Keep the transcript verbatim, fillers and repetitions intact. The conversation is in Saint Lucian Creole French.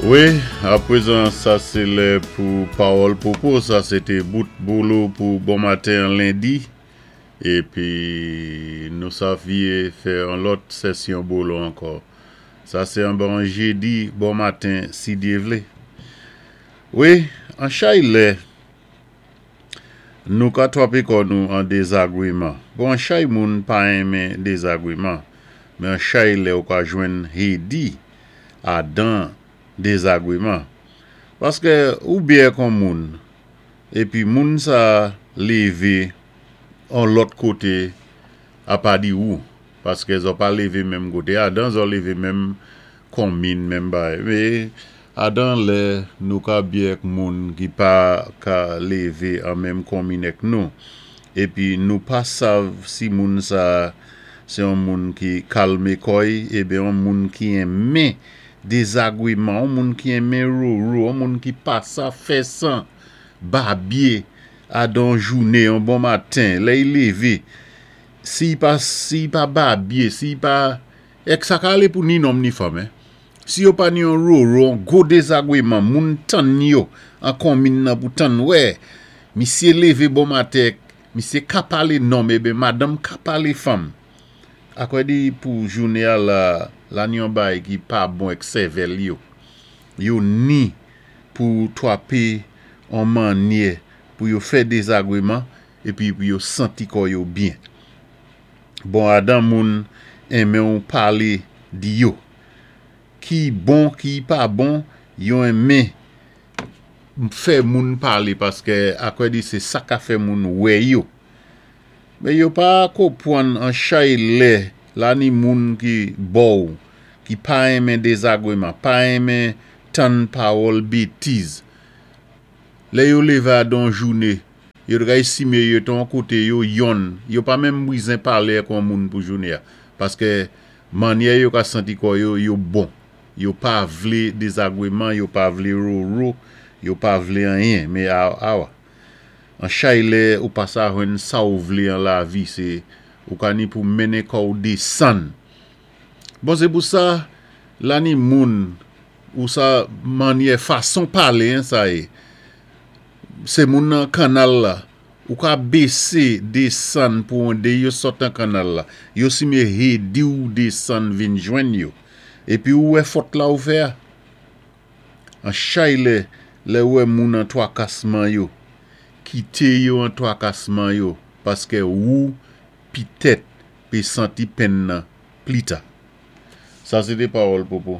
Wi, apwézan sa sé lè pou Pawòl Popo, sa sé té bout bolo pou bon maten lendi. Épi nou sa vié fè an lòt sésyon bolo ankò. Sa sé an bon jédi, bon maten, si Dye vlé. Wi, an chay lè, nou ka twapé kò nou an dézagwiman. Bon, an chay moun pa enmen dézagwiman, men an chay lè ou ka jwenn hédi adan dézagwiman. Paskè ou byé ak on moun, épi moun sa lévé an lòt koté apa di ou, paskè zò pa lévé menm koté adan, zò lévé menm konmin, menm bagay. Mé adan lè nou ka byé ak moun ki pa ka lévé an menm konmin èk nou, épi nou pa sav si moun sa sé on moun ki kalmé kò'y, ébyen on moun ki enmen dézagwiman, on moun ki enmen roro, on moun ki pa sa fè san babyé adan jouné, on bon maten, lè y lévé, si y pa, si y pa babyé, si y pa, èk sa ka alé pou ni nonm ni fanm, hein. Si yo pa ni on roro, on gwo dézagwiman, moun tann yo, an konmin nan pou tann, wè, misyé lévé bon maten, misyé ka palé nonm, ébyen madanm ka palé fanm. Akwè di pou jouné a la, la ni on bagay ki pa bon èk sèvèl yo. Yo ni pou twapé an mannyè pou yo fè dézagwiman, épi pou yo santi kò yo byen. Bon, adan moun enmen ou palé di yo. Ki bon, ki pa bon, yo enmen fè moun palé paskè akwè di sé sa ka fè moun wè yo. Mé yo pa konpwann an chay lè la ni moun ki bò, ki pa enmen dézagwiman, pa enmen tann pawòl bétiz. Lè yo lévé adan jouné, yo ka èstimé yo té an koté yo yonn, yo pa menm bizwen palé ak on moun pou jouné a. Paskè mannyè yo ka santi kò yo, yo bon. Yo pa vlé dézagwiman, yo pa vlé roro, yo pa vlé anyen. Mé awa, an chay lè ou pa sa jwenn sa ou vlé an lavi, sé ou ka ni pou mennen kò ou désann. Bon, sé pou sa, la ni moun, ou sa mannyè fason palé, hein, sa yé. Sé moun nan kannal la, ou ka bésé, désann pou an dé yo sot an kannal la. Yo simé hédi ou désann vin jwenn yo. Épi ou wè fòt la ou fè a? An chay lè, lè ou wè moun an twakasman yo, kité yo an twakasman yo, paskè ou pitèt pé santi penn nan plita. Sa sé té Pawòl Popo.